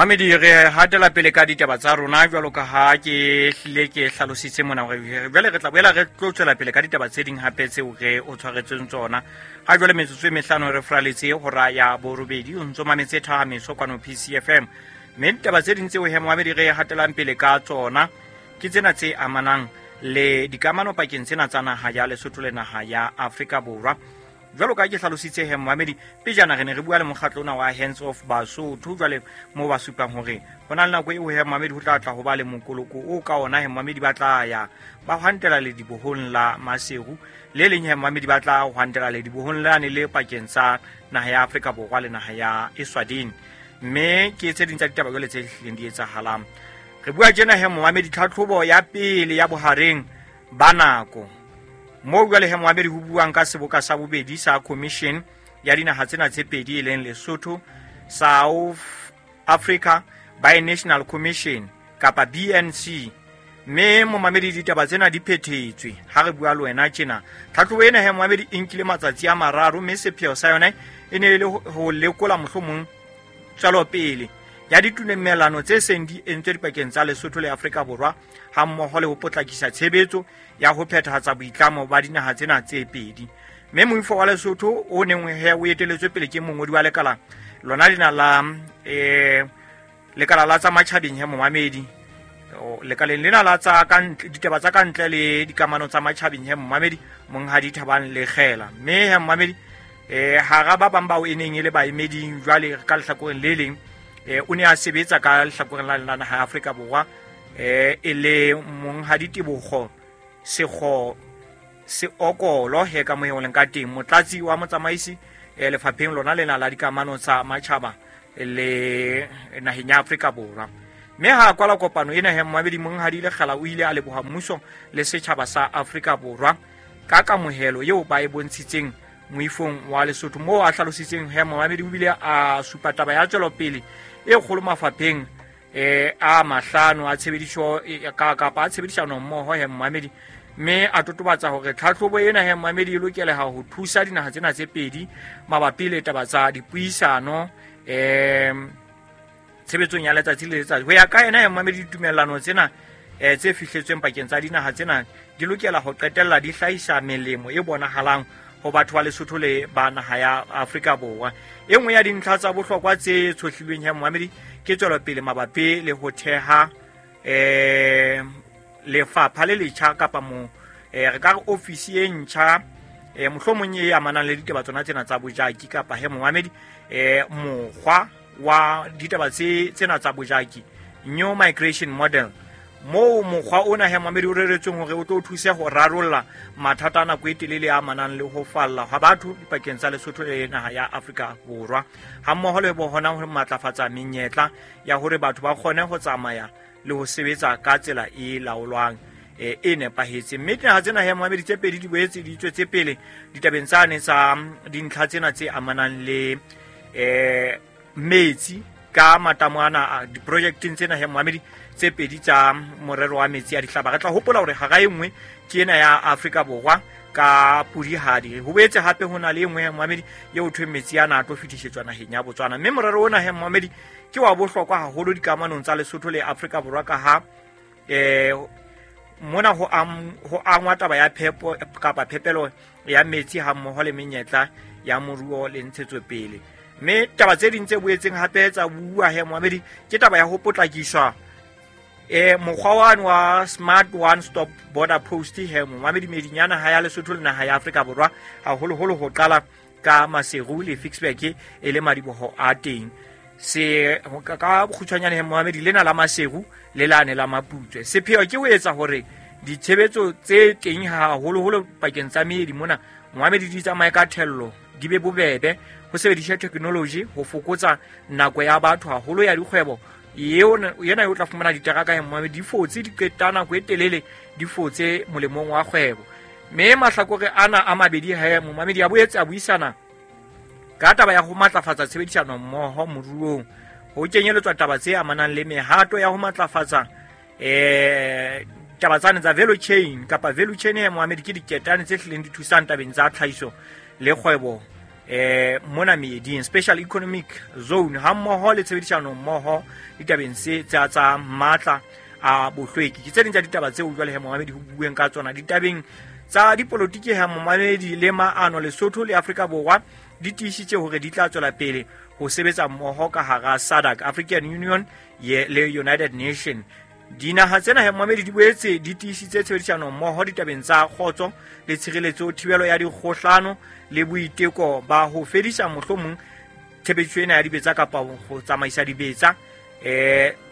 Mamedi, re hatela pele ka ditaba tsa rona jwalo ka ha ke hlile ke hlalositse mona hore jwale re tla boela re tlo tswela pele ka ditaba tse ding hape tseo re o tshwaretseng tsona. Ha jwale metsotso e mehlano re fraletse hora ya borobedi, o ntso mametse Thahameso kwano PCFM. Mme ditaba tse ding tseo he momamedi re hatelang pele ka tsona ke tsena tse amanang le dikamano pakeng tsena tsa naha ya Lesotho le naha ya Afrika Borwa. Jwalo ka ke hlalositse he momamedi, pejana re ne re bua le mokgatlo ona wa Hands Off Basotho, jwale moo ba supang hore ho na le nako eo he momamedi ho tla tla ho ba le mokoloko o ka ona he momamedi ba tla ya ba hwantela ledibohong la Maseru, le leng he momamedi ba tla hwantela ledibohong lane le pakeng tsa naha ya Afrika Borwa le naha ya Eswatini. Mme ke tse ding tsa ditaba jwale tse hlileng di etsahalang. Re bua tjena he momamedi, tlhatlhobo ya pele ya bohareng ba nako moo jwale he momamedi ho buang ka seboka sa bobedi sa commission ya dinaha tsena tse pedi e leng Lesotho South Africa Binational Commission kapa BNC. Mme momamedi ditaba tsena di phethetswe ha re bua le wena tjena. Tlhatlhobo ena he momamedi e nkile matsatsi a mararo, mme sepheo sa yona e ne e le ho lekola mohlomong tswelopele ya ditumelano tse seng di entswe dipakeng tsa Lesotho le Afrika Borwa, ha mmoho le ho potlakisa tshebetso ya ho phethahatsa boitlamo ba dinaha tsena tse pedi. Mme moifo wa Lesotho o neng he o eteletswe pele ke mongodi wa lekala lona lena la lekala la tsa matjhabeng he momamedi, lekaleng lena la tsa ka ntle, ditaba tsa ka ntle le dikamano tsa matjhabeng he momamedi, monghadi Thabang Lekgela. Mme he momamedi, hara ba bang bao e neng e le baemeding jwale ka lehlakoreng le leng, o ne a sebetsa ka lehlakoreng la naha ya Afrika Borwa, e le monghadi Tebogo Sekgo Seokolo he ka mohe o leng ka teng, motlatsi wa motsamaisi lefapheng lona lena la dikamano tsa matjhaba le naheng ya Afrika Borwa. Mme ha kwala kopano ena he momamedi, monghadi Lekgela o ile a leboha mmuso le setjhaba sa Afrika Borwa ka kamohelo eo ba e bontshitseng moifong wa Lesotho, moo a hlalositseng he momamedi o bile a supa taba ya tswelopele e kgolo mafapheng a mahlano a tshebediso kapa a tshebedisano mmoho he momamedi. Mme a totobatsa hore tlhatlhobo ena he momamedi e lokeleha ho thusa dinaha tsena tse pedi mabapi le taba tsa dipuisano tshebetsong ya letsatsi le letsatsi. Ho ya ka yena he momamedi, ditumellano tsena tse fihletsweng pakeng tsa dinaha tsena di lokela ho qetella di hlahisa melemo e bonahalang ho batho ba Lesotho le ba naha ya Afrika Borwa. E nngwe ya dintlha tsa bohlokwa tse tshohlilweng he momamedi ke tswelopele mabapi le ho theha lefapha le letjha kapa mo re ka re ofisi e ntjha mohlomong e amanang le ditaba tsona tsena tsa bojaki kapa he momamedi mokgwa wa ditaba tsena tsa bojaki, new migration model, moo mokgwa ona he momamedi o reretsweng hore o tlo thuse ho rarolla mathata a nako e telele a amanang le ho falla hwa batho dipakeng tsa Lesotho le naha ya Afrika Borwa, ha mmoho le hona ho matlafatsa menyetla ya hore batho ba kgone ho tsamaya le ho sebetsa ka tsela e laolwang e nepahetseng. Mme dinaha tsena he momamedi tse pedi di boetse di tswetse pele ditabeng tsane tsa dintlha tsena tse amanang le metsi ka matamo ana diprojekteng tsena he momamedi tse pedi tsa morero wa metsi a dihlaba. Re tla hopola hore hara e nngwe ke ena ya Afrika Borwa ka Pudihadi. Ho boetse hape ho na le e nngwe he momamedi eo thweng metsi ana a tlo fetisetswa naheng ya Botswana. Mme morero ona he momamedi ke wa bohlokwa haholo dikamanong tsa Lesotho le Afrika Borwa ka ha mona ho angwa taba ya phepo kapa phepelo ya metsi ha mmoho le menyetla ya moruo le ntshetsopele. Mme taba tse ding tse boetseng hape tsa bua he momamedi ke taba ya ho potlakiswa mokgwa wane wa Smart One Stop Border Post he momamedi medinyana ha ya Lesotho le naha ya Afrika Borwa, haholoholo ho qala ka Maseru le Ficksburg e le madiboho a teng. Se ka bokgutshwanyane he momamedi lena la Maseru le lane la Maputswe. Sepheo ke ho etsa hore ditshebetso tse teng haholoholo pakeng tsa meedi mona momamedi di tsamaye ka thello, di be bobebe, ho sebediswa technology ho fokotsa nako ya batho haholo ya dikgwebo. Yena o tla fumana diteraka he momamedi di fotse di qeta nako e telele di fotse molemong wa kgwebo. Mme mahlakore ana a mabedi he momamedi a boetse a buisana ka taba ya ho matlafatsa tshebedisano mmoho moruong, ho kenyeletswa taba tse amanang le mehato ya ho matlafatsa taba tsane tsa value chain kapa value chain he momamedi ke diketane tse hlileng di thusang tabeng tsa tlhahiso le kgwebo. mona meeding, special economic zone, ha mmoho le tshebedisano mmoho ditabeng se tsa matla a bohlweki. Ke tse ding tsa ditaba tseo jwale he momamedi ho bueng ka tsona ditabeng tsa dipolotiki. He momamedi, le maano Lesotho le Afrika Borwa di tiisitse hore di tla tswela pele ho sebetsa mmoho ka hara SADC, African Union le United Nation. Dinaha tsena he momamedi di boetse di tiisitse tshebedisano mmoho ditabeng tsa kgotso le tshireletso, thibelo ya dikgohlano le boiteko ba ho fedisa mohlomong tshebediso ena ya dibetsa kapa ho tsamaisa dibetsa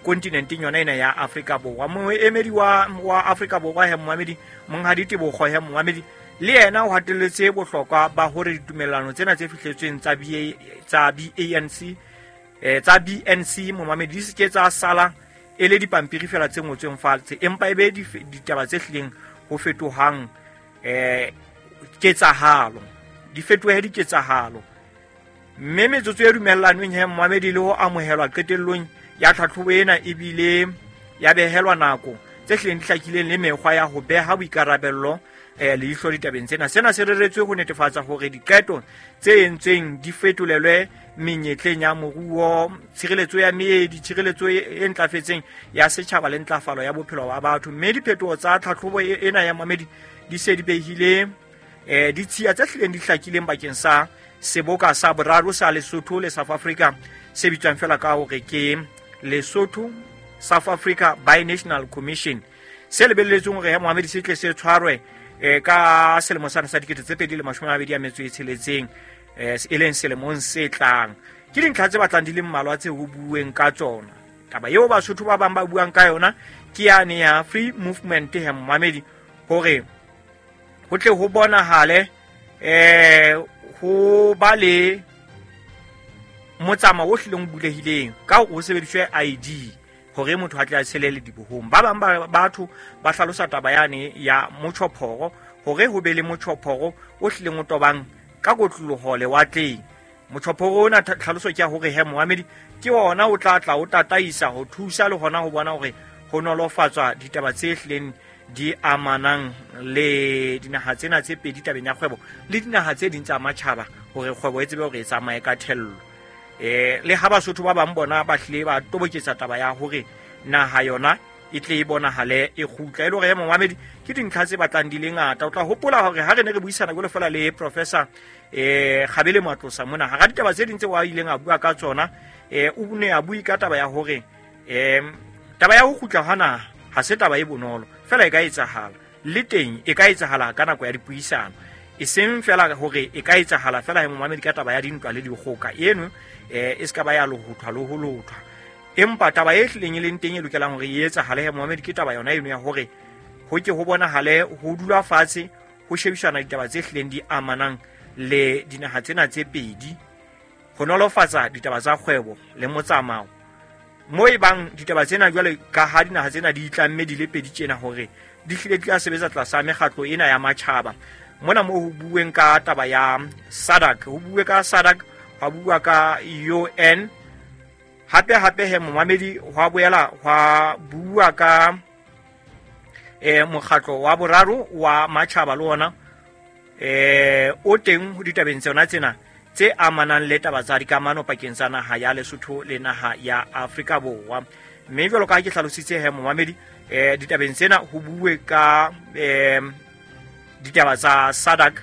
kontinenteng yona ena ya Afrika Borwa. Moemedi wa Afrika Borwa he momamedi, Monghadi Tebogo he momamedi, le yena o hatelletse bohlokwa ba hore ditumellano tsena tse fihletsweng tsa tsa BANC, tsa BNC momamedi, di se ke tsa sala e le dipampiri fela tse ngotsweng fatshe, empa e be ditaba tse hlileng ho fetohang ketsahalo, di fetohe diketsahalo. Mme metsotso e dumellanweng he momamedi le ho amohelwa qetellong ya tlhatlhobo ena ebile ya behelwa nako tse hlileng di hlakileng le mekgwa ya ho beha boikarabello leihlo ditabeng tsena. Sena se reretswe ho netefatsa hore diqeto tse entsweng di fetolelwe menyetleng ya moruo, tshireletso ya meedi, tshireletso e ntlafetseng ya setjhaba le ntlafalo ya bophelo ba batho. Mme diphetoho tsa tlhatlhobo ena ya mamedi di se di behile ditshiya tse hlileng di hlakileng bakeng sa seboka sa boraro sa Lesotho le South Africa se bitswang fela ka hore ke Lesotho South Africa Binational Commission, se lebelletsweng hore ya Mohamedi se tle se tshwarwe ka selemo sana sa 2026, e leng selemong se tlang. Ke dintlha tse batlang di le mmalwa tse ho bueng ka tsona. Taba eo Basotho ba bang ba buang ka yona ke yane ya free movement he momamedi, hore ho tle ho bonahale ho ba le motsamao o hlileng o bulehileng ka hore ho sebediswe ID hore motho a tle a tshele ledibohong. Ba bang ba batho ba hlalosa taba yane ya motjhophoro, hore ho be le motjhophoro o hlileng o tobang ka kotloloho lewatleng. Motjhophoro ona tlhaloso ke ya hore he moamedi ke ona o tla tla o tataisa ho thusa le hona ho bona hore ho nolofatswa ditaba tse hlileng di amanang le dinaha tsena tse pedi tabeng ya kgwebo le dinaha tse ding tsa matjhaba, hore kgwebo e tsebe hore e tsamaye ka thello. Le ha Basotho ba bang bona ba hlile ba toboketsa taba ya hore naha yona e tle e bonahale e kgutla. E le hore momamedi ke dintlha tse batlang di le ngata. O tla hopola hore ha re ne re buisana jwalo fela le Professor Kgabele Matlosa mona, hara ditaba tse ding tse wa ileng a bua ka tsona, o ne a bue ka taba ya hore taba ya ho kgutla hwa naha ha se taba e bonolo fela, e ka etsahala le teng, e ka etsahala ka nako ya dipuisano, e seng fela hore e ka etsahala fela he momamedi ka taba ya dintwa le dikgoka eno, e se ka ba ya lohothwa le ho lothwa. Empa taba e hlileng e leng teng e lokelang hore e etsahale he momamedi ke taba yona eno ya hore ho ke ho bonahale ho dula fatshe ho shebisana ditaba tse hlileng di amanang le dinaha tsena tse pedi, ho nolofatsa ditaba tsa kgwebo le motsamao mo e bang ditaba tsena jwale ka ha dinaha tsena di itlamme di le pedi tjena hore di hlile di tla sebetsa tlasa mekgatlo ena ya matjhaba. Mona mo ho bueng ka taba ya SADC, ho bue ka SADC, hwa bua ka UN, hape hape he momamedi hwa boela hwa bua ka mokgatlo wa boraro wa matjhaba le ona o teng ho ditabeng tsona tsena tse amanang le taba tsa dikamano pakeng tsa naha ya Lesotho le naha ya Afrika Borwa. Mme jwalo ka ha ke hlalositse he momamedi, ditabeng tsena ho bue ka ditaba tsa SADC,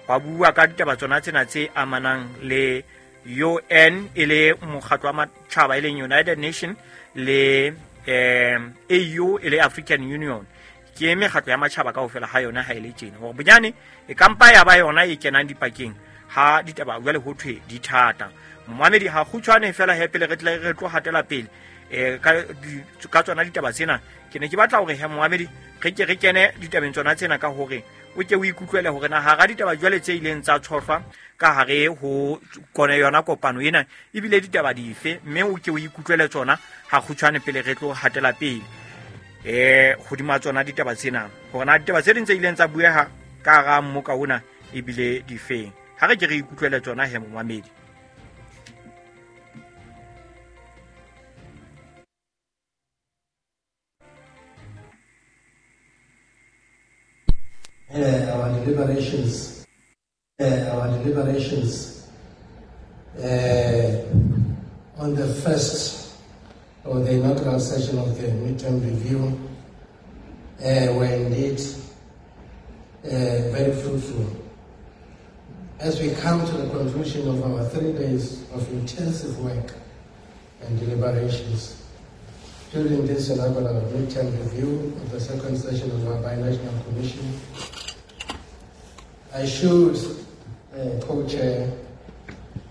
hwa bua ka ditaba tsona tsena tse amanang le UN e le mokgatlo wa matjhaba e leng United Nation le AU e le African Union. Ke mekgatlo ya matjhaba kaofela ha yona ha e le tjena hore bonyane e kampa ya ba yona e kenang dipakeng ha ditaba jwale ho thwe di thata. Momamedi, ha kgutshwane fela he pele re tle re tlo hatela pele ka tsona ditaba tsena, ke ne ke batla hore he momamedi re ke re kene ditabeng tsona tsena ka hore o ke o ikutlwele hore na hara ditaba jwale tse ileng tsa tshohlwa ka hare ho kone yona kopano ena ebile ditaba dife, mme o ke o ikutlwele tsona ha kgutshwane pele re tlo hatela pele hodima tsona ditaba tsena, hore na ditaba tse ding tse ileng tsa bueha ka hara mmoka ona ebile difeng. Ha re ke re ikutlwele tsona he momamedi. Our deliberations On the first or the inaugural session of the midterm review were indeed very fruitful. As we come to the conclusion of our 3 days of intensive work and deliberations during this inaugural midterm review of the second session of our binational commission, I should, co-chair,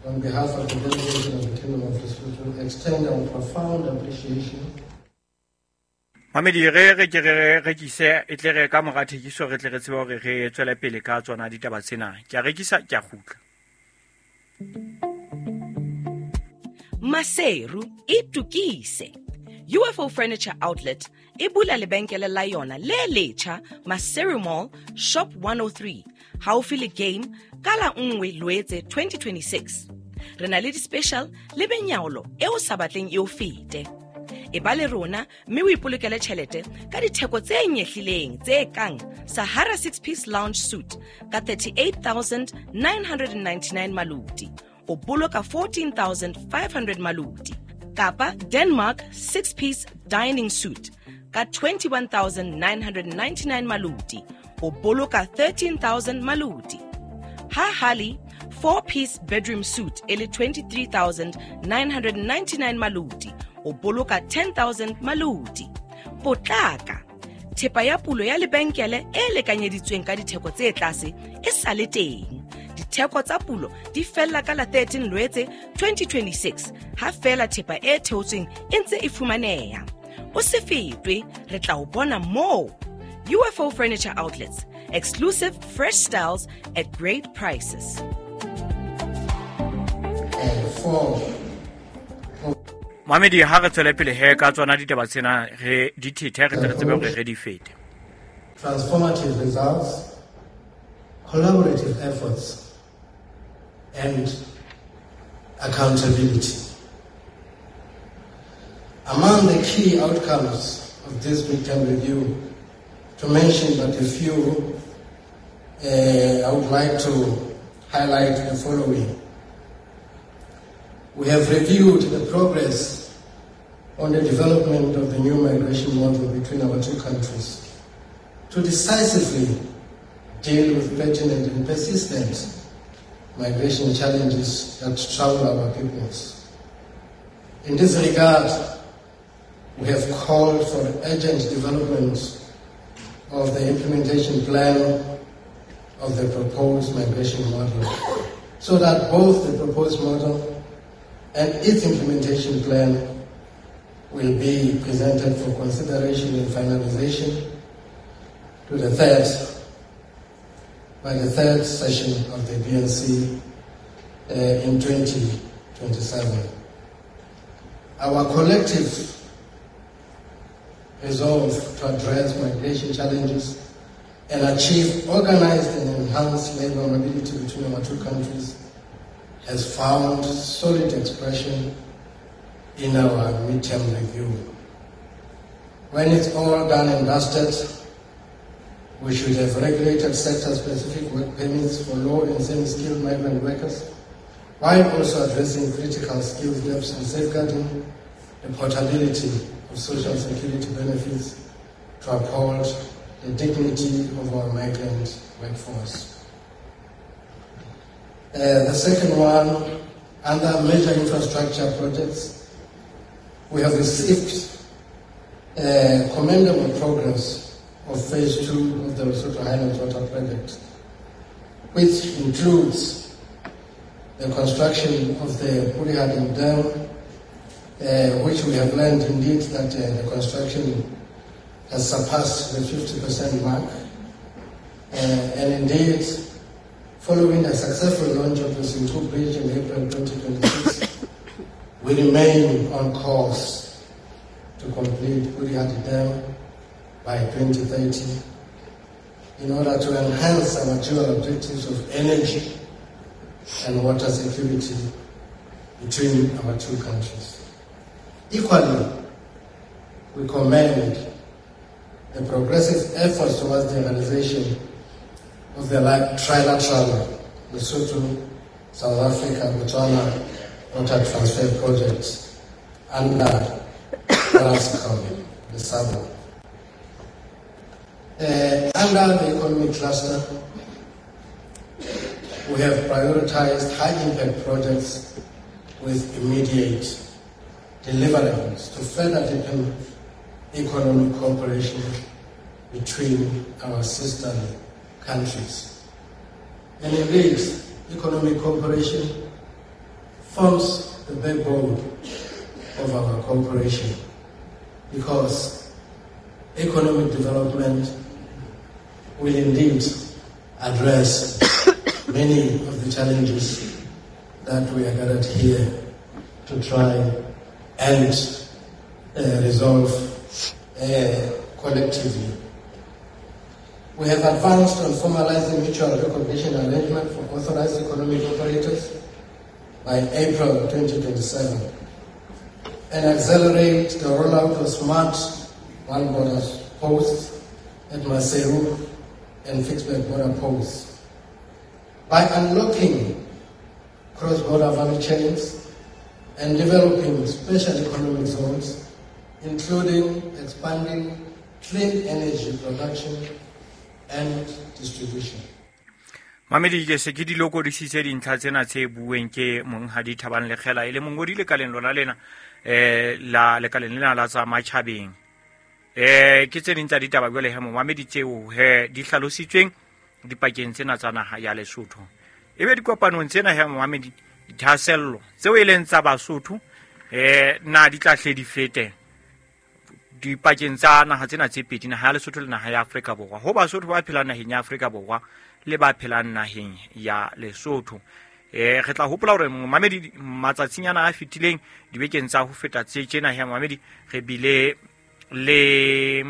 on behalf of the delegation of the Kingdom of Lesotho, extend our profound appreciation. Mamedi, re re ke re rekise e tle re ka mora thekiso re tle re tsebe hore re tswele pele ka tsona ditaba tsena. Ke a rekisa, ke a kgutla. Maseru itukise. UFO Furniture Outlet e bula lebenkele la yona le letjha Maseru Mall Shop 103 haufi le Game ka la 1 Loetse 2026. Re na le di-special le benyaolo e o sa batleng e o fete. E ba le rona mme o ipolokele tjhelete ka ditheko tse nyehlileng tse kang Sahara 6-piece lounge suite ka 38,999 maluti, o boloka 14,500 maluti, kapa Denmark 6-piece dining suite ka 21,999 maluti, o boloka 13,000 maluti. Ha Hali 4-piece bedroom suite e le 23,999 maluti, o boloka 10,000 maluti. Potlaka, thepa ya pulo ya lebenkele e lekanyeditsweng ka ditheko tse tlase e sa le teng. Ditheko tsa pulo di fella ka la 13 Loetse 2026 ha fela thepa e theotsweng e ntse e fumaneha. O se fetwe, re tla o bona moo. UFO Furniture Outlets, exclusive fresh styles at great prices. Mamedi, ha re tswele pele he ka tsona ditaba tsena re di thethe re tle re tsebe hore re di fete. Transformative results, collaborative efforts, and accountability. Among the key outcomes of this midterm review, to mention but a few, I would like to highlight the following. We have reviewed the progress on the development of the new migration model between our two countries to decisively deal with pertinent and persistent migration challenges that trouble our peoples. In this regard, we have called for urgent development of the implementation plan of the proposed migration model, so that both the proposed model and its implementation plan will be presented for consideration and finalization to the third, by the third session of the BNC in 2027. Our collective resolve to address migration challenges and achieve organized and enhanced labor mobility between our two countries has found solid expression in our midterm review. When it's all done and dusted, we should have regulated sector-specific work permits for low and semi-skilled migrant workers, while also addressing critical skills gaps and safeguarding the portability of social security benefits to uphold the dignity of our migrant workforce. The second one, under major infrastructure projects, we have received commendable progress of Phase 2 of the Lesotho Highlands Water Project, which includes the construction of the Polihali Dam, which we have learned indeed that the construction has surpassed the 50% mark. And indeed, following the successful launch of the Senqu Bridge in April 2026, we remain on course to complete Polihali Dam by 2030 in order to enhance our dual objectives of energy and water security between our two countries. Equally, we commend the progressive efforts towards the realization of the trilateral Lesotho, South Africa, Botswana water transfer projects under Orascom, the SABO. Under the economic cluster, we have prioritized high-impact projects with immediate deliverables to further deepen economic cooperation between our sister countries. And indeed, economic cooperation forms the backbone of our cooperation, because economic development will indeed address many of the challenges that we are gathered here to try and resolve collectively. We have advanced on formalizing mutual recognition arrangement for authorized economic operators by April 2027 and accelerate the rollout of smart one border posts at Maseru and Ficksburg border posts. By unlocking cross-border value chains and developing special economic zones, including expanding clean energy production and distribution. Mamedi ke se ke di lokodisitse dintlha tsena tse bueng ke monghadi Thabang Lekgela e le mongodi lekaleng lona lena la lekaleng lena la tsa matjhabeng. Ke tse ding tsa ditaba jwale he momamedi tseo he di hlalositsweng dipakeng tsena tsa naha ya Lesotho. Ebe dikopanong tsena he momamedi dithahasello tseo e leng tsa Basotho na di tla hle di fete dipakeng tsa naha tsena tse pedi, naha ya Lesotho le naha ya Afrika Borwa, ho Basotho ba phelang naheng ya Afrika Borwa le ba phelang naheng ya Lesotho. Re tla hopola hore momamedi matsatsing ana a fetileng dibekeng tsa ho feta tse tjena he momamedi re bile le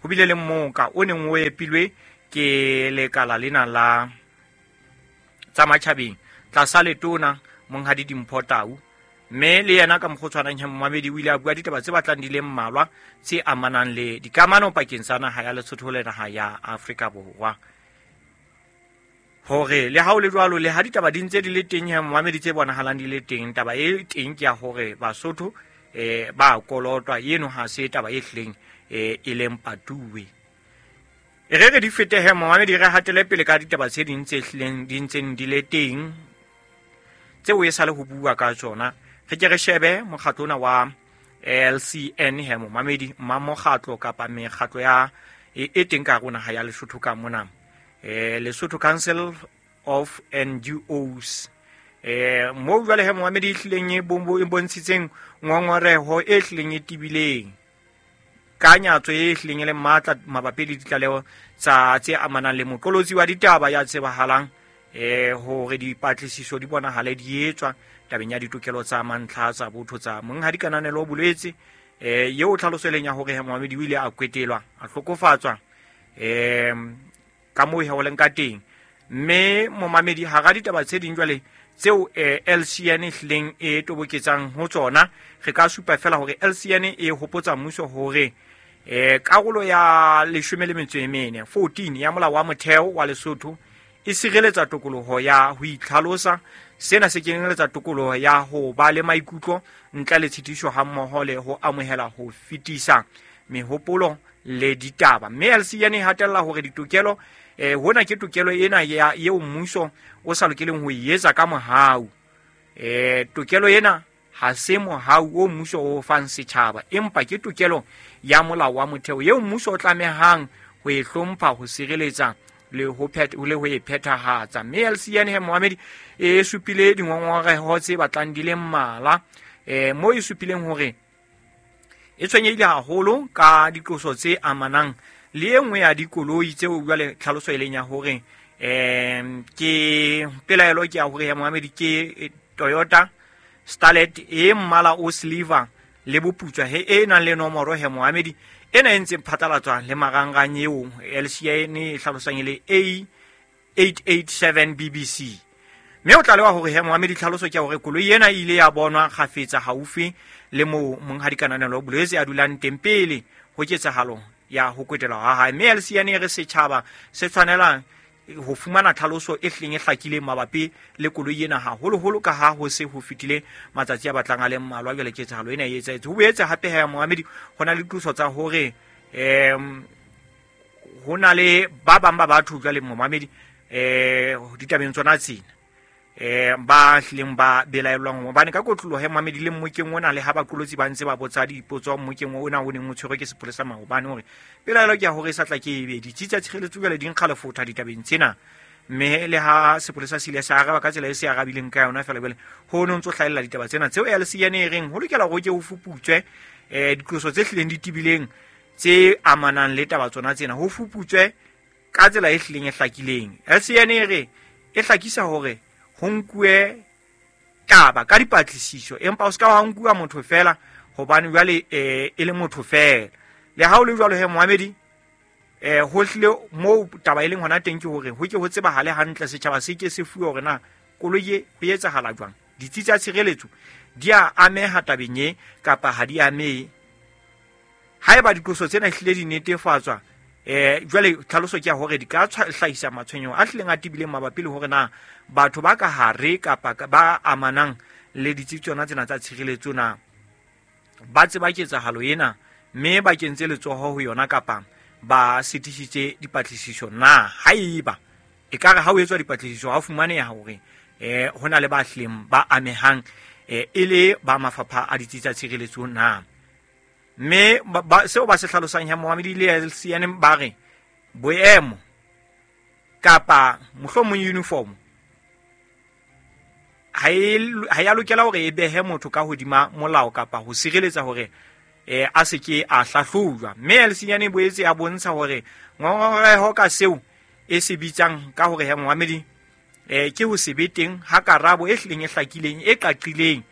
ho bile le mmoka o neng o epilwe ke lekala lena la tsa matjhabeng tlasa letona monghadi Dimpho Tau, mme le yena ka mokgwa o tshwanang he momamedi o ile a bua ditaba tse batlang di le mmalwa tse amanang le dikamano pakeng tsa naha ya Lesotho le naha ya Afrika Borwa. Hore le ha o le jwalo, le ha ditaba di ntse di le teng he momamedi tse bonahalang di le teng, taba e teng ke ya hore Basotho ba kolotwa, eno ha se taba e hleng e leng patuwe. E re re di fete he momamedi, re hatele pele ka ditaba tse ding tse hlileng di ntseng di le teng tseo e sale ho bua ka tsona. Re ke re shebe mokgatlo ona wa LCN he momamedi, mmakgatlo kapa mekgatlo ya e teng ka hare ho naha ya Lesotho ka mona. Lesotho Council of NGOs. Mo jwale he momamedi e hlileng e bontshitseng ngongoreho e hlileng e tibileng ka nyatso e hlileng e le matla mabapi le ditlaleho tsa tse amanang le moqolotsi wa ditaba ya tsebahalang hore dipatlisiso di bonahale di etswa tabeng ya ditokelo tsa mantlha tsa botho tsa monghadi Kananelo Bolwetse, eo tlhaloso e leng ya hore he momamedi o ile a kwetelwa, a hlokofatswa ka moo he ho leng ka teng. Mme momamedi hara ditaba tse ding jwale tseo LCN e hlileng e toboketsang ho tsona, re ka supa fela hore LCN e hopotsa mmuso hore karolo ya 14 14 ya molao wa motheo wa Lesotho e sireletsa tokoloho ya ho itlhalosa. Sena se kenyeletsa tokoloho ya ho ba le maikutlo ntle le tshitiso hammoho le ho amohela ho fetisa mehopolo le ditaba. Mme LCN e hatella hore ditokelo hona ke tokelo ena ya eo mmuso o sa lokeleng ho e etsa ka mohau. Tokelo ena ha se mohau o mmuso o fang setjhaba, empa ke tokelo ya molao wa motheo eo mmuso o tlamehang ho e hlompha, ho sireletsa le ho e phethahatsa. Mme LCN he momamedi e supile dingongoreho tse batlang di le mmalwa, mo e supileng hore e tshwenyehile haholo ka diqoso tse amanang le e nngwe ya dikoloi tseo jwale tlhaloso e leng ya hore ke pelaelo ke ya hore ya momamedi ke Toyota Starlet e mmala o silver le boputswa he e nang le nomoro he momamedi ena e ntseng phatlalatswa le marangrang eo LCN e hlalosang e le A887 BBC. Mme o tlalewa hore he momamedi tlhaloso ke hore koloi ena e ile ya bonwa kgafetsa haufi le moo monghadi Kananelo Bolwetse a dulang teng pele ho ketsahalo ya ho kwetelwa ha hae. Mme LCN e re setjhaba se tshwanelang ho fumana tlhaloso e hlileng e hlakileng mabapi le koloi ena, haholoholo ka ha ho se ho fetile matsatsi a batlang a le mmalwa jwale ketsahalo ena e etsahetse. Ho boetse hape ha moamedi ho na le diqoso tsa hore ho na le ba bang ba batho jwale momamedi ditabeng tsona tsena ba hlileng ba belaellwang, hobane ka kotloloho ya momamedi le mmokeng ona le ha baqolotsi ba ntse ba botsa dipotso mmokeng ona o neng o tshwerwe ke sepolesa maobane, hore pelaelo ke ya hore e sa tla ke ebe ditsi tsa tshireletso jwale di nkga lefotha ditabeng tsena, mme le ha sepolesa se ile sa araba ka tsela e se arabileng ka yona fela jwale ho no ntso hlahella ditaba tsena tseo LCN e reng ho lokela hore ke ho fuputswe diqoso tse hlileng di tebileng tse amanang le taba tsona tsena, ho fuputswe ka tsela e hlileng e hlakileng. LCN e re e hlakisa hore ho nkuwe taba ka dipatlisiso, empa o se ka wa nkuwa motho fela hobane jwale e le motho fela. Le ha o le jwalo he moamedi, ho hlile moo taba e leng hona teng ke hore ho ke ho tsebahale hantle, setjhaba se ke se fuwe hore na koloi e ho etsahala jwang, ditsi tsa tshireletso di a ameha tabeng e kapa ha di amehe. Haeba diqoso tsena hlile di netefatswa, jwale tlhaloso ke ya hore di ka hlahisa matshwenyeho a hlileng a tebileng mabapi le hore na batho ba ka hare kapa ba amanang le ditsi tsona tsena tsa tshireletso na ba tseba ketsahalo ena mme ba kentse letsoho ho yona kapa ba sitisitse dipatlisiso na. Haeba ekare ha o etswa dipatlisiso ha o fumaneha hore ho na le ba hlileng ba amehang e le ba mafapha a ditsi tsa tshireletso na. Mme seo ba se hlalosang ya moamedi le LCN ba re boemo kapa mohlomong uniform ha ya lokela hore e behe motho ka hodima molao kapa ho sireletsa hore a se ke a hlahlojwa. Mme LCN e boetse ya bontsha hore ngongoreho ka seo e se bitsang ka hore ya moamedi ke ho se be teng ha karabo e hlileng e hlakileng e qaqileng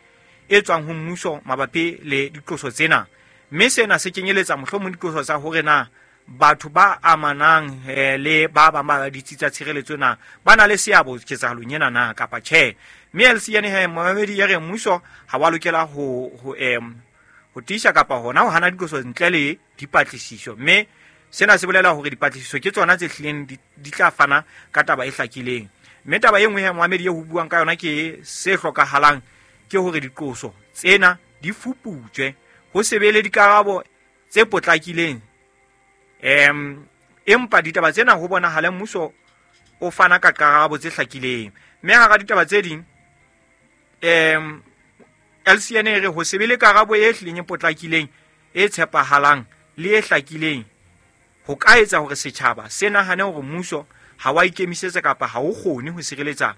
e tswang ho mmuso mabapi le diqoso tsena. Mme sena se kenyeletsa mohlomong diqoso tsa hore na batho ba amanang le ba bang ba ditsi tsa tshireletso na ba na le seabo ketsahalong ena na kapa tjhe. Mme LCN he moamedi ya re mmuso ha wa lokela ho tiisa kapa hona ho hana diqoso ntle le dipatlisiso. Mme sena se bolela hore dipatlisiso ke tsona tse hlileng di tla fana ka taba e hlakileng. Mme taba e nngwe he moamedi e ho buang ka yona ke se hlokahalang ke hore diqoso tsena di fuputswe, ho se be le dikarabo tse potlakileng. Empa ditaba tsena ho bonahala mmuso o fana ka karabo tse hlakileng. Mme hara ditaba tse ding, LCN e re ho se be le karabo e hlileng e potlakileng, e tshepahalang le e hlakileng ho ka etsa hore setjhaba se nahane hore mmuso ha wa ikemisetsa kapa ha o kgone ho sireletsa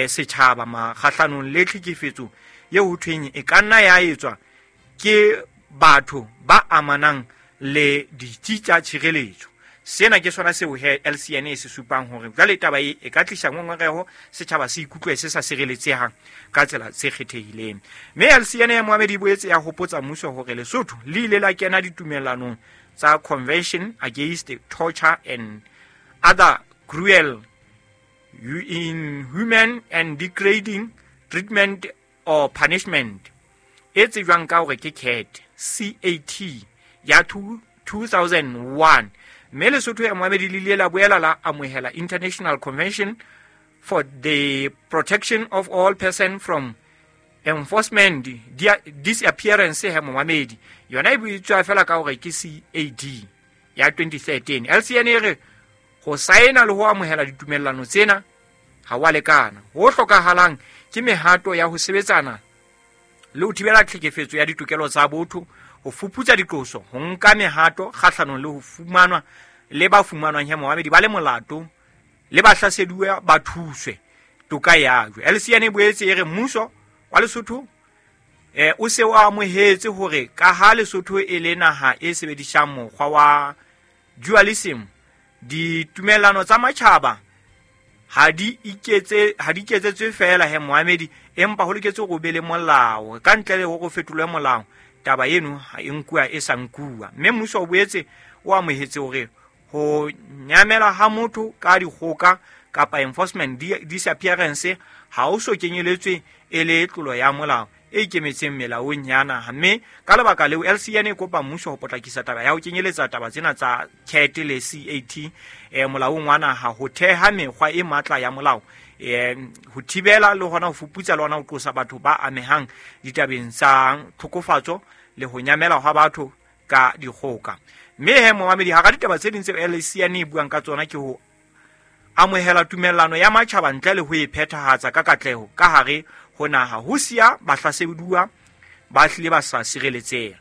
setjhaba makgahlanong le tlhekefetso eo ho thweng e ka nna ya etswa ke batho ba amanang le ditsi tsa tshireletso. Sena ke sona seo he LCN e se supang hore jwale taba e ka tlisa ngongoreho, setjhaba se ikutlwe se sa sireletsehang ka tsela tse kgethehileng. Mme LCN ya moamedi e boetse ya hopotsa mmuso hore Lesotho le ile la kena ditumellanong tsa Convention Against Torture and Other Cruel, Inhuman and Degrading Treatment or Punishment e tsejwang ka hore ke CAT, CAT ya 2001. Mme Lesotho ya moamedi le ile la boela la amohela International Convention for the Protection of All Persons from Enforcement Disappearance he moamedi, yona e bitswa fela ka hore ke CAD ya 2013. LCN e re ho saena le ho amohela ditumellano tsena ha wa lekana. Ho hlokahalang ke mehato ya ho sebetsana le ho thibela tlhekefetso ya ditokelo tsa botho, ho fuputsa diqoso, ho nka mehato kgahlanong le ho fumanwa le ba fumanwang he moamedi ba le molato le ba hlaseduwa ba thuswe toka ya jwe. LCN e boetse e re mmuso wa Lesotho o se o amohetse hore ka ha Lesotho e le naha e sebedisang mokgwa wa dualism, ditumellano tsa matjhaba ha di iketsetswe fela he moamedi, empa ho loketse hore o be le molao. Ka ntle le hore o fetolwe molao, taba eno ha e nkuwa e sa nkuwa. Mme mmuso o boetse o amohetse hore ho nyamela ha motho ka dikgoka kapa enforcement disappearance ha o so kenyeletswe e le tlolo ya molao, e ikemetseng melaong ya naha. Mme ka lebaka leo LCN e kopa mmuso ho potlakisa taba ya ho kenyeletsa taba tsena tsa CAT le CAT molaong wa naha, ho theha mekgwa e matla ya molao, ho thibela le hona ho fuputsa le hona ho qosa batho ba amehang ditabeng tsa tlhokofatso le ho nyamela hwa batho ka dikgoka. Mme he momamedi, hara ditaba tse ding tseo LCN e buang ka tsona ke ho amohela tumellano ya matjhaba ntle le ho e phethahatsa ka katleho ka hare ho naha, ho siya bahlaseduwa ba hlile ba sa sireletseha.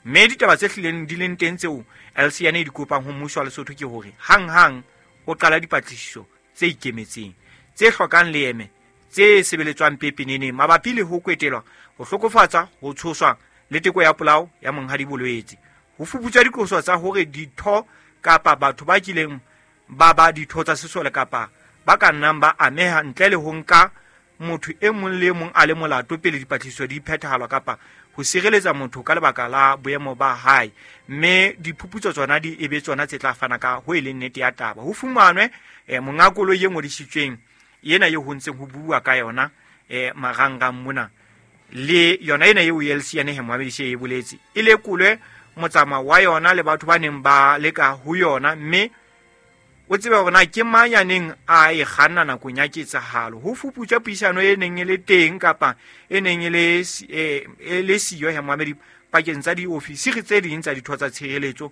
Mme ditaba tse hlileng di leng teng tseo LCN e di kopang ho mmuso wa Lesotho ke hore hanghang o qala dipatlisiso tse ikemetseng, tse hlokang leeme, tse sebeletswang pepeneneng mabapi le ho kwetelwa, ho hlokofatsa, ho tshoswa le teko ya polao ya Monghadi Bolwetse. Ho fuputswa diqoso tsa hore ditho kapa batho ba kileng ba ba ditho tsa sesole kapa ba ka nnang ba ameha ntle le ho nka motho e mong le e mong a le molato pele dipatlisiso di phethahalwa kapa ho sireletsa motho ka lebaka la boemo ba hae. Mme diphuputso tsona di ebe tsona tse tla fana ka ho e leng nnete ya taba. Ho fumanwe monga koloi e ngodisitsweng ena eo ho ntseng ho bua ka yona marangrang mona, le yona ena eo LCN he moamedisi e boletse, e lekolwe motsamao wa yona le batho ba neng ba leka ho yona, mme o tsebe hore na ke mang ya neng a e kganna nakong ya ketsahalo. Ho fuputswa puisano e neng e le teng kapa e neng e le siyo he moamedi pakeng tsa diofisiri tse ding tsa ditho tsa tshireletso.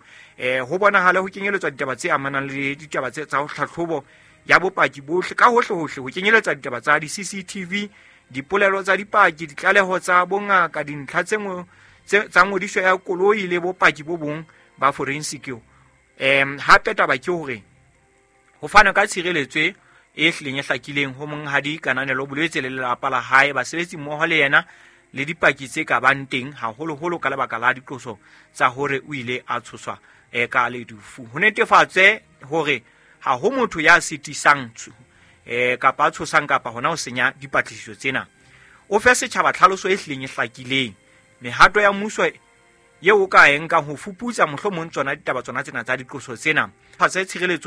Ho bonahale ho kenyeletswa ditaba tse amanang le ditaba tse tsa ho tlhatlhobo ya bopaki bohle ka hohle hohle, ho kenyeletsa ditaba tsa di-CCTV, dipolelo tsa dipaki, ditlaleho tsa bongaka, dintlha tse tsa ngodiso ya koloi le bopaki bo bong ba forensic. Hape taba ke hore ho fana ka tshireletso e hlileng e hlakileng ho Monghadi Kananelo Bolwetse le lelapa la hae, basebetsi mmoho le yena le dipaki tse ka bang teng, haholoholo ka lebaka la diqoso tsa hore o ile a tshoswa ka ledufu. Ho netefatse hore ha ho motho ya sitisang kapa a tshosang kapa hona ho senya dipatlisiso tsena. O fe setjhaba tlhaloso e hlileng e hlakileng, mehato ya mmuso eo o ka e nkang ho fuputsa mohlomong tsona ditaba tsona tsena tsa diqoso tsena, fatse tshireletso.